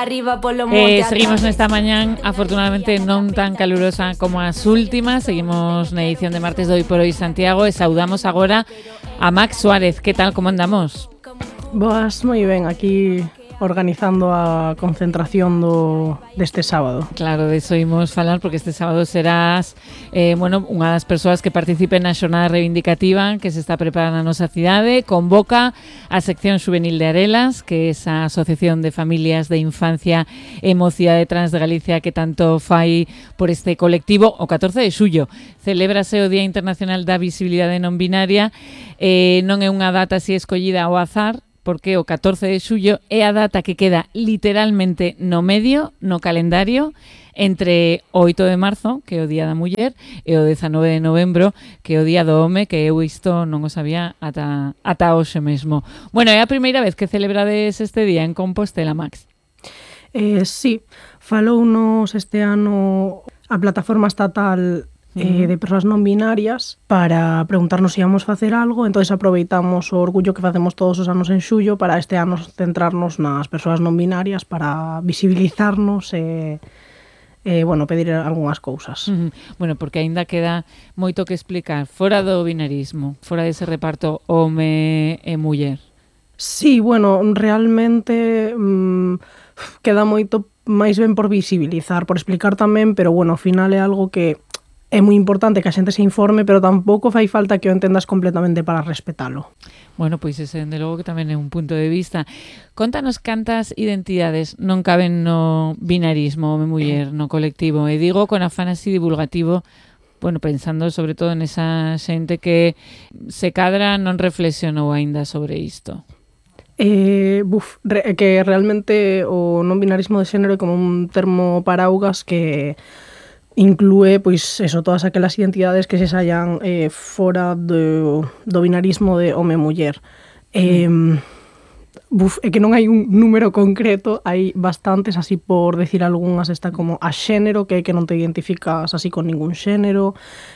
Seguimos nesta mañán, afortunadamente non tan calurosa como as últimas. Seguimos na edición de martes de Hoy por Hoy Santiago e saudamos agora a Max Suárez. Que tal, como andamos? Boas, moi ben, aquí organizando a concentración deste sábado. Claro, de iso imos falar porque este sábado serás unha das persoas que participen na xornada reivindicativa que se está preparando na nosa cidade. Convoca a sección juvenil de Arelas, que é esa asociación de familias de infancia e mocidade trans de Galicia que tanto fai por este colectivo. O 14 de xullo celébrase o Día Internacional da Visibilidade Non Binaria. Non é unha data así escollida ao azar, porque o 14 de xullo é a data que queda literalmente no medio, no calendario, entre o 8 de marzo, que é o Día da Muller, e o 19 de novembro, que é o Día do Home, que eu isto non o sabía ata hoxe mesmo. Bueno, é a primeira vez que celebrades este día en Compostela, Max? Sí, falounos este ano a plataforma estatal de persoas non binarias para preguntarnos se íamos facer algo, entonces aproveitamos o orgullo que facemos todos os anos en xullo para este ano centrarnos nas persoas non binarias para visibilizarnos e pedir algunhas cousas. Bueno, porque aínda queda moito que explicar fora do binarismo, fora dese reparto home e muller. Sí, bueno, realmente queda moito máis ben por visibilizar, por explicar tamén, pero bueno, ao final é algo que é moi importante que a xente se informe, pero tampouco fai falta que o entendas completamente para respetalo. Bueno, pois ese, dende logo, que tamén é un punto de vista. Contanos cantas identidades non caben no binarismo home-muller, no colectivo. E digo con afán así divulgativo, bueno, pensando sobre todo nesa xente que se cadra non reflexionou aínda sobre isto. Que realmente o non binarismo de xénero é como un termo paraugas que inclúe, pois, eso, todas aquelas identidades que se sallan fora do binarismo de home-muller. É que non hai un número concreto, hai bastantes, así por decir algunhas, está como a xénero, que é que non te identificas así con ningún xénero,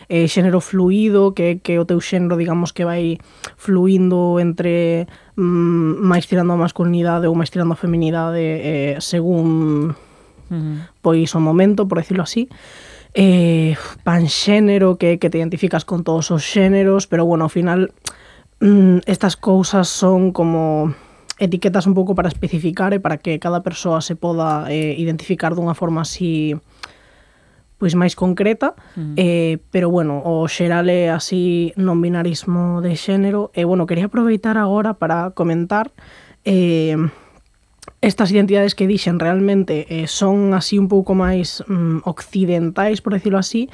xénero fluido, que é que o teu xénero, digamos, que vai fluindo entre máis tirando a masculinidade ou máis tirando a feminidade según pois o momento, por decirlo así. Panxénero, que te identificas con todos os xéneros, pero bueno, ao final estas cousas son como etiquetas un pouco para especificar e para que cada persoa se poda identificar dunha forma así pois máis concreta, pero bueno, o xeral é así non binarismo de xénero. E bueno, quería aproveitar agora para comentar estas identidades que dixen realmente son así un pouco máis occidentais, por decirlo así,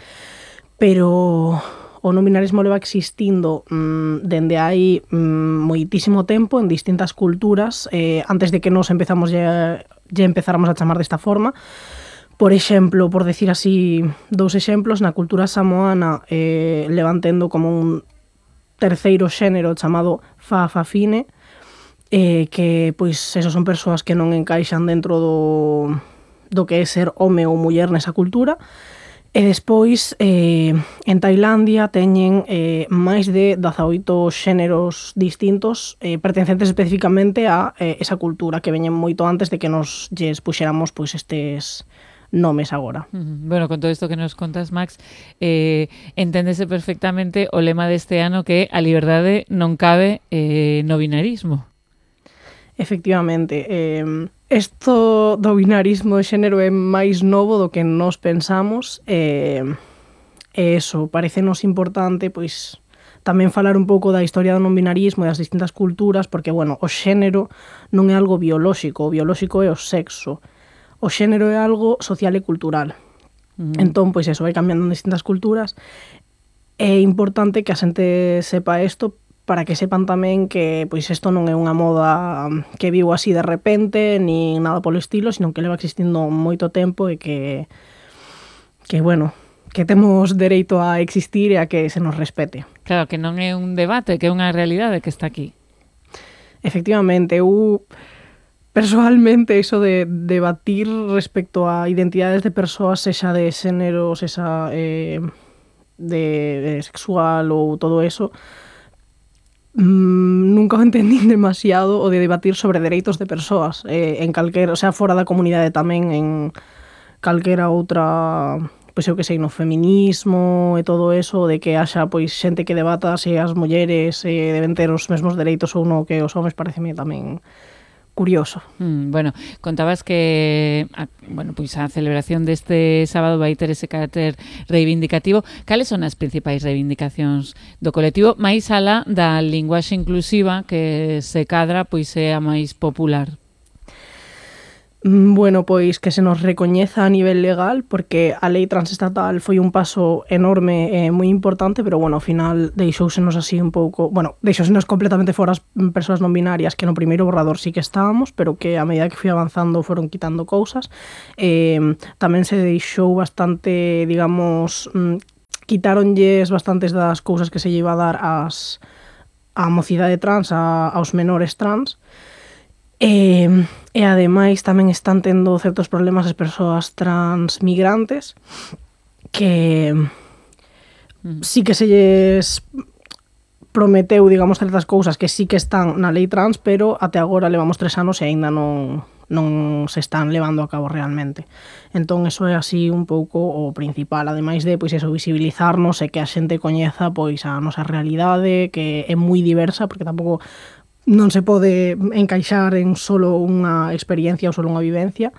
pero o non binarismo leva existindo dende hai moitísimo tempo en distintas culturas, antes de que nos empezáramos a chamar desta forma. Por exemplo, por decir así dous exemplos, na cultura samoana levan tendo como un terceiro xénero chamado fa-fa-fine, que pois esos son persoas que non encaixan dentro do que é ser home ou muller nesa cultura. E despois en Tailandia teñen máis de 18 xéneros distintos pertencentes especificamente a esa cultura que veñen moito antes de que nos lles puxéramos pois estes nomes agora. Bueno, con todo isto que nos contas, Max, enténdese perfectamente o lema deste ano, que a liberdade non cabe no binarismo. Efectivamente, isto do binarismo de xénero é máis novo do que nós pensamos, e eso, parecenos importante, pois, tamén falar un pouco da historia do non binarismo e das distintas culturas, porque, bueno, o xénero non é algo biolóxico, o biolóxico é o sexo. O xénero é algo social e cultural. Entón, pois eso, vai cambiando en distintas culturas. É importante que a xente sepa isto, para que sepan tamén que pois isto non é unha moda que viu así de repente, nin nada polo estilo, sino que leva existindo moito tempo e que bueno, que temos dereito a existir e a que se nos respete. Claro, que non é un debate, que é unha realidade que está aquí. Efectivamente, eu persoalmente iso de debatir respecto a identidades de persoas, sexa de xénero, sexa de sexual ou todo eso, nunca o entendín demasiado o de debatir sobre dereitos de persoas en calquera, o sea, fora da comunidade tamén, en calquera outra, pois eu que sei, no feminismo e todo eso, de que haxa pois xente que debata se as mulleres deben ter os mesmos dereitos ou non que os homes, pareceme tamén curioso. Bueno, contabas que pois a celebración deste sábado vai ter ese carácter reivindicativo. Cales son as principais reivindicacións do colectivo máis alá da linguaxe inclusiva que se cadra pois é a máis popular? Bueno, pois que se nos recoñeza a nivel legal, porque a lei transestatal foi un paso enorme e moi importante, pero bueno, ao final deixousenos así un pouco, bueno, deixousenos completamente fora as persoas non binarias, que no primeiro borrador sí que estábamos, pero que a medida que fui avanzando foron quitando cousas. Tamén se deixou bastante, digamos, quitáronlles bastantes das cousas que se lle iba a dar á mocidade trans, aos menores trans. E ademais tamén están tendo certos problemas as persoas trans migrantes que sí que se lles prometeu, digamos, certas cousas que sí que están na lei trans, pero até agora levamos 3 anos e aínda non se están levando a cabo realmente. Entón, eso é así un pouco o principal, ademais de, pois, eso, visibilizarnos e que a xente coñeza, pois, a nosa realidade, que é moi diversa, porque tampouco non se pode encaixar en solo unha experiencia ou solo unha vivencia,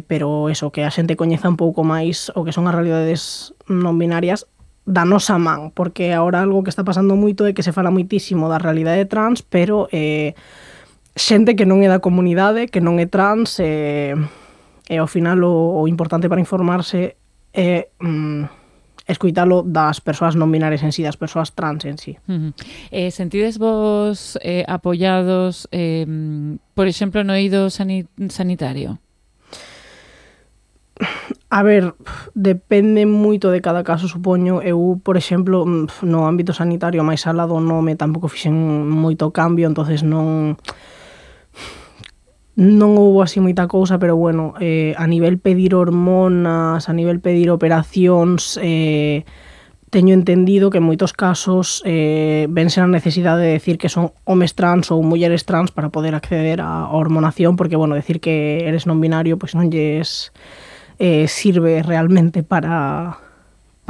pero eso, que a xente coñeza un pouco máis o que son as realidades non binarias da nosa man, porque agora algo que está pasando moito é que se fala moitísimo da realidade trans, pero xente que non é da comunidade, que non é trans, e ao final o importante para informarse é escoitalo das persoas non binarias en sí, das persoas trans en sí. Sentides vos apoiados, por exemplo, no eido sanitario? A ver, depende moito de cada caso, supoño. Eu, por exemplo, no ámbito sanitario, máis alá do nome, tampouco fixen moito cambio, entonces non houbo así moita cousa, pero bueno, a nivel pedir hormonas, a nivel pedir operacións, teño entendido que en moitos casos vense a necesidade de decir que son homes trans ou mulleres trans para poder acceder á hormonación, porque, bueno, decir que eres non binario, pois non lles sirve realmente para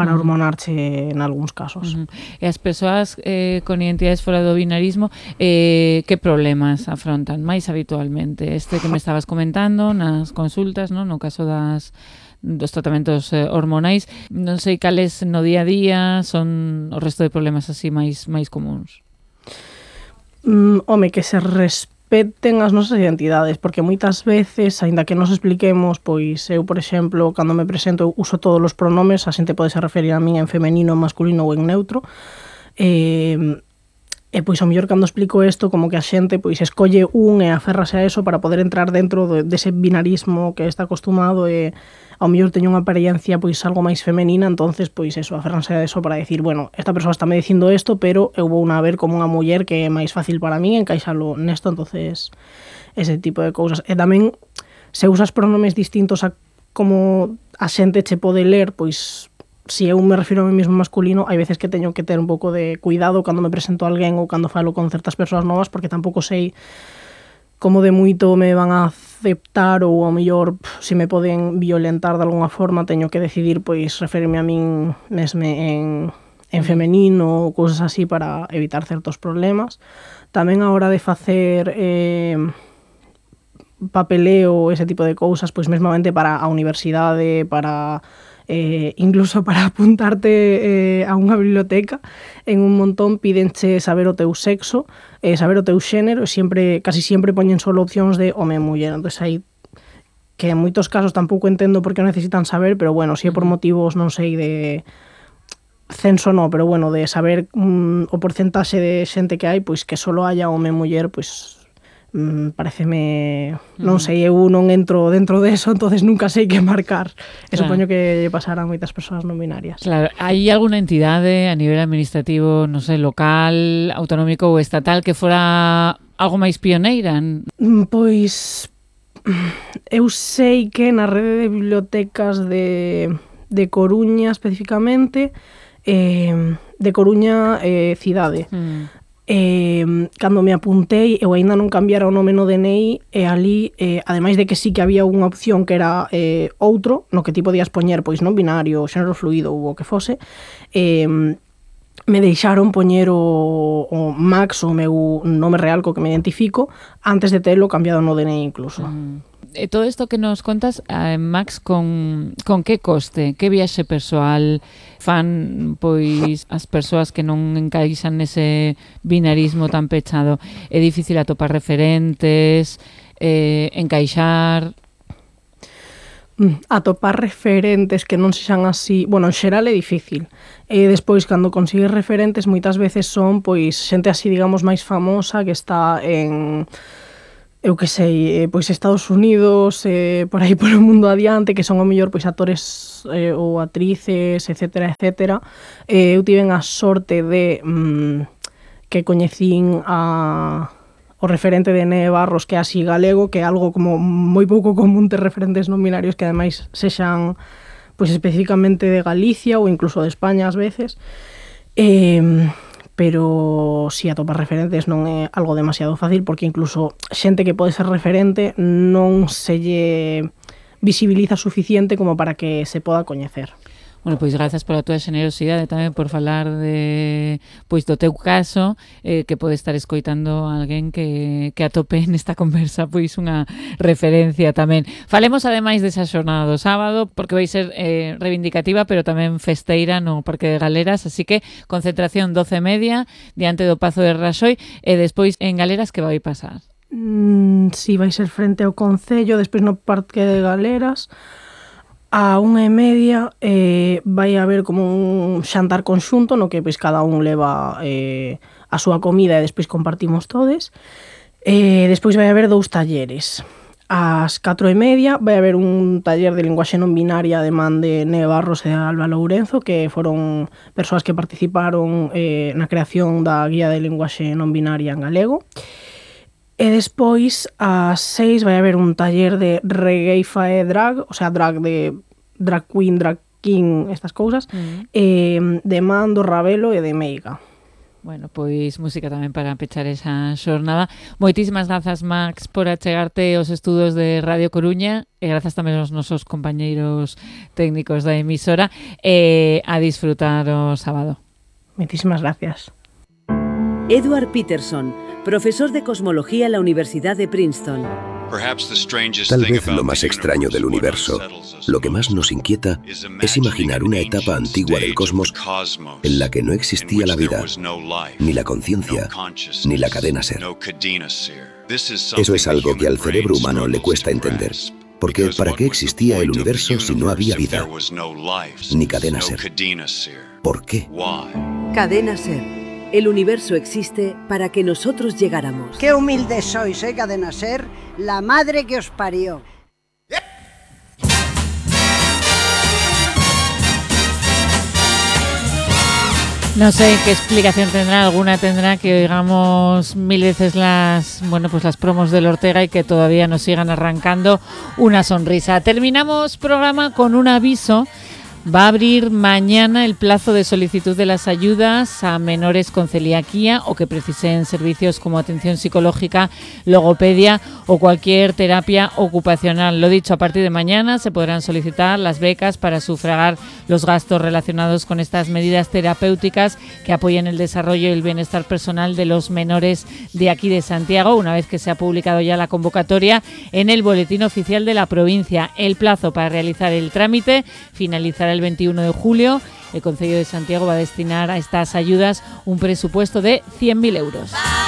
hormonarche en algúns casos. E as persoas con identidades fora do binarismo, que problemas afrontan máis habitualmente? Este que me estabas comentando nas consultas, non? No caso dos tratamentos hormonais, non sei cales no día a día son o resto de problemas así máis comuns. Home, que se respeten as nosas identidades, porque moitas veces, aínda que nos expliquemos, pois eu, por exemplo, cando me presento, uso todos os pronomes, a xente pode se referir a min en femenino, en masculino ou en neutro, e pois ao mellor cando explico isto, como que a xente pois escolle un e aférrase a eso para poder entrar dentro dese binarismo que está acostumado, e ao mellor teño unha apariencia pois algo máis femenina, entonces pois eso, aférranse a eso para decir, bueno, esta persoa está me dicindo isto, pero eu vou a ver como unha muller que é máis fácil para min encaixalo nesto, entonces ese tipo de cousas. E tamén, se usas pronomes distintos a como a xente che pode ler, pois si eu me refiro a mí mesmo masculino, hai veces que teño que ter un pouco de cuidado cando me presento a alguén ou cando falo con certas persoas novas, porque tampouco sei como de moito me van a aceptar, ou ao mellor se me poden violentar de alguna forma, teño que decidir pois referirme a min mesme en femenino ou cousas así para evitar certos problemas. Tamén a hora de facer papeleo, ese tipo de cousas, pois mesmamente para a universidade, para incluso para apuntarte a unha biblioteca, en un montón pídenche saber o teu sexo, saber o teu xénero, e casi sempre poñen solo opcións de home e muller. Entón, aí que en moitos casos tampouco entendo por que necesitan saber, pero bueno, si é por motivos, non sei, de censo no, pero bueno, de saber o porcentaxe de xente que hai, pois que solo haya home e muller, pois pareceme, non sei, eu non entro dentro de eso, entonces nunca sei que marcar. E supoño que pasarán moitas persoas non binarias. Claro, hai alguna entidade a nivel administrativo, non sei, local, autonómico ou estatal que fora algo máis pioneira? Pois eu sei que na rede de bibliotecas de Coruña especificamente, de Coruña cidade, Cando me apuntei, eu aínda non cambiara o nome no DNI, e ali, ademais de que sí que había unha opción que era outro, no que ti podías poñer pois non binario, xénero fluido ou o que fose, me deixaron poñer o Max, o meu nome real co que me identifico, antes de telo cambiado no DNI incluso. Todo isto que nos contas, Max, con que coste? Que viaxe persoal fan pois as persoas que non encaixan nese binarismo tan pechado? É difícil atopar referentes, encaixar? Atopar referentes que non sexan así, bueno, en xeral é difícil. Despois, cando consigues referentes, moitas veces son pois xente así, digamos, máis famosa que está en, eu que sei, pois Estados Unidos, por aí polo mundo adiante, que son o mellor pois actores ou actrices, etcétera, etcétera. Eu tiven a sorte de que coñecín o referente de Neve Barros, que é así galego, que é algo como moi pouco común ter referentes non binarios que ademais sexan pois especificamente de Galicia ou incluso de España ás veces. Pero si atopar referentes non é algo demasiado fácil, porque incluso xente que pode ser referente non se lle visibiliza suficiente como para que se poda coñecer. Bueno, pois grazas pola túa xenerosidade tamén por falar de pois do teu caso, que pode estar escoitando alguén que atope nesta conversa pois unha referencia tamén. Falemos ademais desa xornada do sábado, porque vai ser reivindicativa, pero tamén festeira no Parque de Galeras, así que concentración 12:30 diante do Pazo de Raxoi, e despois en Galeras que vai pasar? Si, vai ser frente ao Concello, despois no Parque de Galeras. A 1:30 vai haber como un xantar conxunto no que pois cada un leva a súa comida e despois compartimos todes. Despois vai haber 2 talleres. Ás 4:30 vai haber un taller de linguaxe non binaria de man de Neve Barros e Alba Lourenzo, que foron persoas que participaron na creación da guía de linguaxe non binaria en galego. E despois, ás 6, vai haber un taller de reggae fae drag, o sea, drag de drag queen, drag king, estas cousas, de man do Ravelo e de Meiga. Bueno, pois música tamén para pechar esa xornada. Moitísimas grazas, Max, por achegarte aos estudos de Radio Coruña, e grazas tamén aos nosos compañeiros técnicos da emisora, e a disfrutar o sábado. Moitísimas gracias. Edward Peterson, profesor de cosmología en la Universidad de Princeton. Tal vez lo más extraño del universo, lo que más nos inquieta, es imaginar una etapa antigua del cosmos en la que no existía la vida, ni la conciencia, ni la cadena ser. Eso es algo que al cerebro humano le cuesta entender, porque ¿para qué existía el universo si no había vida, ni cadena ser? ¿Por qué? Cadena Ser. El universo existe para que nosotros llegáramos. Qué humildes sois, Cadena Ser, la madre que os parió. No sé qué explicación tendrá, alguna tendrá que oigamos mil veces las promos del Ortega y que todavía nos sigan arrancando una sonrisa. Terminamos programa con un aviso. Va a abrir mañana el plazo de solicitud de las ayudas a menores con celiaquía o que precisen servicios como atención psicológica, logopedia o cualquier terapia ocupacional. Lo dicho, a partir de mañana se podrán solicitar las becas para sufragar los gastos relacionados con estas medidas terapéuticas que apoyen el desarrollo y el bienestar personal de los menores de aquí de Santiago, una vez que se ha publicado ya la convocatoria en el Boletín Oficial de la provincia. El plazo para realizar el trámite finalizará el 21 de julio. El Concello de Santiago va a destinar a estas ayudas un presupuesto de 100.000 euros.